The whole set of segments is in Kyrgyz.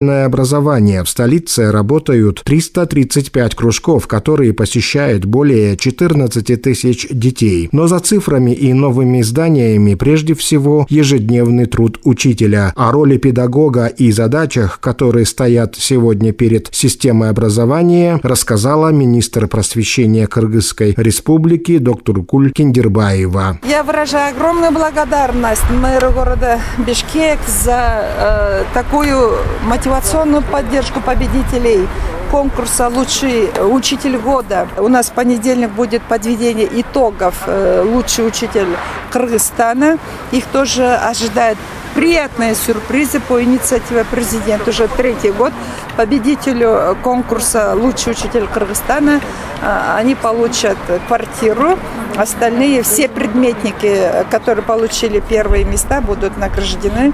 образование. В столице работают 335 кружков, которые посещают более 14 тысяч детей. Но за цифрами и новыми зданиями прежде всего ежедневный труд учителя. О роли педагога и задачах, которые стоят сегодня перед системой образования, рассказала министр просвещения Кыргызской республики Докторкуль Киндербаева. Я выражаю огромную благодарность мэру города Бишкек за такую мотивационную поддержку победителей конкурса «Лучший учитель года». У нас в понедельник будет подведение итогов «Лучший учитель Кыргызстана». Их тоже ожидают приятные сюрпризы по инициативе президента. Уже 3-й год победителю конкурса «Лучший учитель Кыргызстана» они получат квартиру. Остальные, все предметники, которые получили первые места, будут награждены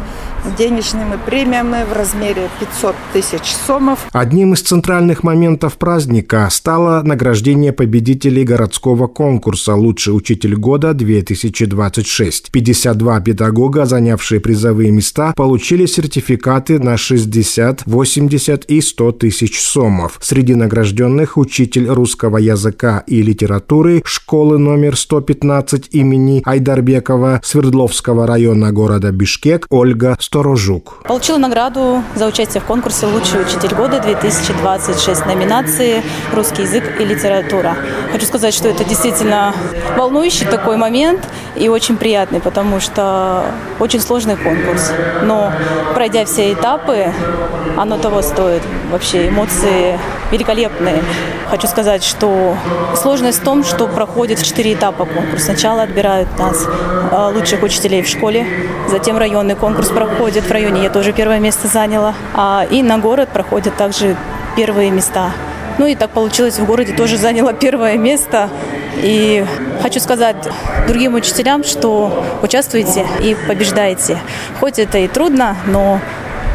денежными премиями в размере 500 тысяч сомов. Одним из центральных моментов праздника стало награждение победителей городского конкурса «Лучший учитель года-2026». 52 педагога, занявшие призовые места, получили сертификаты на 60, 80 и 100 тысяч сомов. Среди награжденных учитель русского языка и литературы школы номер 115 имени Айдарбекова Свердловского района города Бишкек Ольга Сторожук. Получила награду за участие в конкурсе «Лучший учитель года-2026» номинации «Русский язык и литература». Хочу сказать, что это действительно волнующий такой момент и очень приятный, потому что очень сложный конкурс. Но пройдя все этапы, оно того стоит. Вообще эмоции великолепные. Хочу сказать, что сложность в том, что проходит 4 этапа конкурс. Сначала отбирают нас, лучших учителей в школе, затем районный конкурс проходит. В районе я тоже первое место заняла. И на город проходят также первые места. Ну и так получилось, в городе тоже заняла первое место. И хочу сказать другим учителям, что участвуйте и побеждайте. Хоть это и трудно, но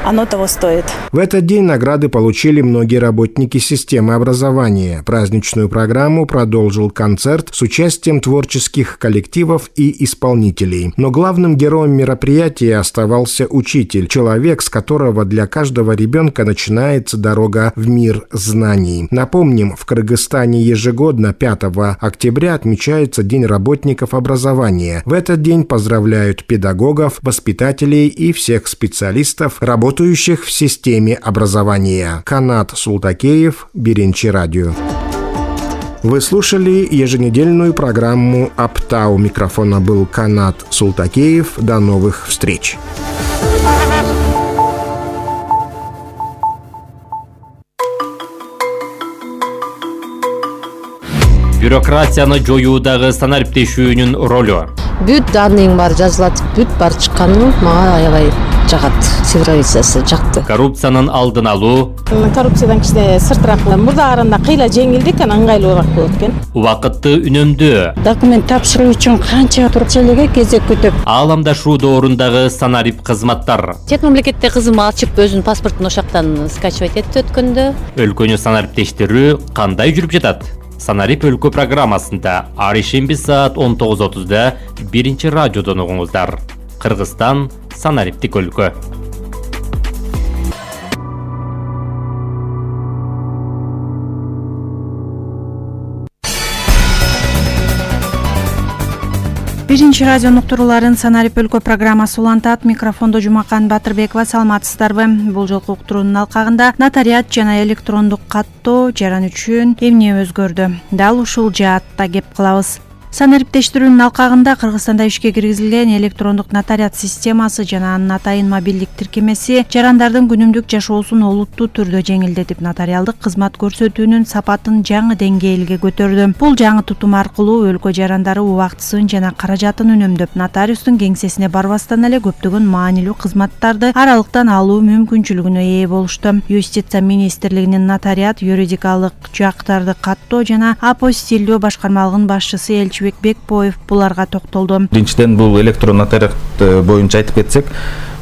оно того стоит. В этот день награды получили многие работники системы образования. Праздничную программу продолжил концерт с участием творческих коллективов и исполнителей. Но главным героем мероприятия оставался учитель, человек, с которого для каждого ребенка начинается дорога в мир знаний. Напомним, в Кыргызстане ежегодно 5 октября отмечается День работников образования. В этот день поздравляют педагогов, воспитателей и всех специалистов, работающих в системе образования. Канат Султакеев, Биринчи радио. Вы слушали еженедельную программу «Апта». У микрофона был Канат Султакеев. До новых встреч. Бюрократияны жоюудагы санариптешүүнүн ролу. Бүт данныйың бар жазылат, бүт бар чыкканы мага аябай жагат. Цифровизациясы жакты. Коррупциянын алдын алуу. Коррупциядан кичине сыртыраак мурда караганда кыйла жеңилдик, ыңгайлуураак болот экен. Убакытты үнөмдөө. Документ тапшыруу үчүн канча туруп элеге кезек күтүп. Ааламдашуу доорундагы санарип кызматтар. Чет мамлекетте кызым ачып өзүнүн паспортун ошактан скачивать этти өткөндө. Өлкөнү санариптештирүү кандай жүрүп жатат? Санарип өлкө программасында ар ишемби саат 19:30-да Биринчи радиодон угуңуздар. Кыргызстан санариптик өлкө. Биринчи радио уктурууларын санарип өлкө программасы улантат. Микрофондо Жумакан Батырбекова. Саламатсыздарбы? Бул жолку уктуруунун алкагында нотариат жана электрондук каттоо жаран үчүн эмне өзгөрдү? Дал ушул жаатта кеп кылабыз. Санариптештирүүнүн алкагында Кыргызстанда ишке киргизилген электрондук нотариат системасы жана анын атайын мобилдик тиркемеси жарандардын күнүмдүк жашоосун олуттуу түрдө жеңилдетип, нотариалдык кызмат көрсөтүүнүн сапатын жаңы деңгээлге көтөрдү. Бул жаңы тутум аркылуу өлкө жарандары убактысын жана каражатын үнөмдөп, нотариустун кеңсесине барбастан эле көптөгөн маанилүү кызматтарды аралыктан алуу мүмкүнчүлүгүнө ээ болушту. Юстиция министрлигинин нотариат, юридикалык жактарды каттоо жана апостилдөө башкармалыгынын башчысы Бекбоев буларга токтолду. Биринчиден бул электрон нотариат боюнча айтып кетсек,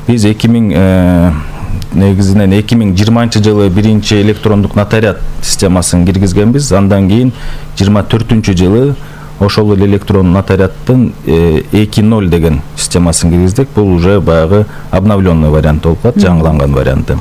биз 2020 жылы биринчи электрондук нотариат системасын киргизгенбиз. Андан кийин 24 жылы ошол эле электрон нотариаттын 2.0 деген системасын киргиздик. Бул уже баягы обновленный вариант болуп калат, жаңыланган варианты.